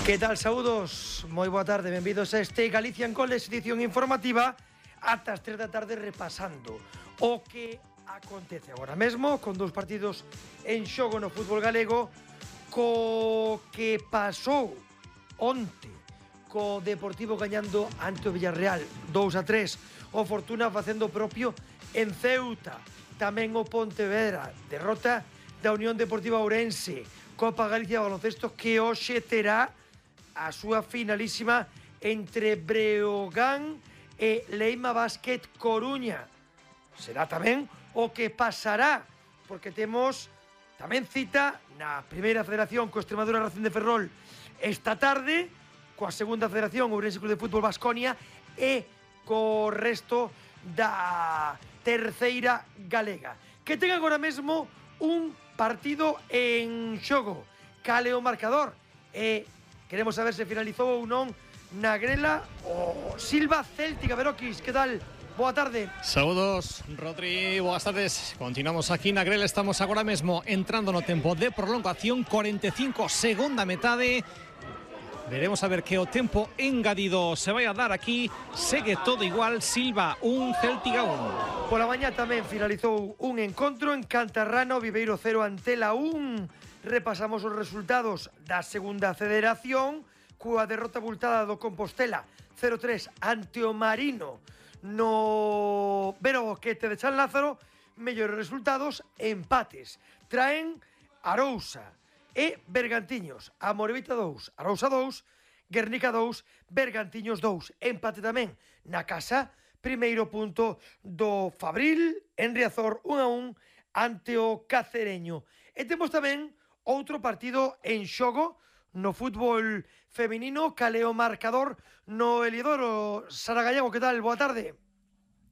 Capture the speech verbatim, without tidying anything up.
Que tal, saúdos? Moi boa tarde, benvidos a este Galicia en Goles, edición informativa ata as tres da tarde repasando o que acontece agora mesmo con dous partidos en xogo no fútbol galego, co que pasou onte co Deportivo gañando ante o Villarreal dous a tres, o Fortuna facendo propio en Ceuta, tamén o Pontevedra, derrota da Unión Deportiva Ourense, Copa Galicia de baloncesto que hoxe terá a súa finalísima entre Breogán e Leima Basket Coruña. Será tamén o que pasará, porque temos tamén cita na primeira federación co Extremadura Racing de Ferrol esta tarde, coa segunda federación Ourense Club de Fútbol Baskonia e co resto da terceira galega, que ten agora mesmo un partido en xogo. Cale o marcador e queremos saber se finalizou ou non na grela o Silva Céltica. Beroquis, que tal? Boa tarde. Saúdos, Rodri, boas tardes. Continuamos aquí na grela, estamos agora mesmo entrando no tempo de prolongación, cuarenta e cinco, segunda metade. Veremos a ver que o tempo engadido se vai a dar aquí. Segue todo igual, Silva un, Céltica un. Pola mañá tamén finalizou un encontro en Cantarrano, Viveiro cero, Antela un. Repasamos os resultados da segunda federación coa derrota abultada do Compostela cero tres ante o Marino no Vero Boquete de San Lázaro. Mellores resultados, empates traen Arousa e Bergantiños. A Morevita dous, Arousa dous, Guernica dous, Bergantiños dous. Empate tamén na casa, primeiro punto do Fabril en Riazor un a un ante o Cacereño. E temos tamén outro partido en xogo no fútbol feminino. Cale o marcador no Eliodoro. Sara Gallego, que tal? Boa tarde.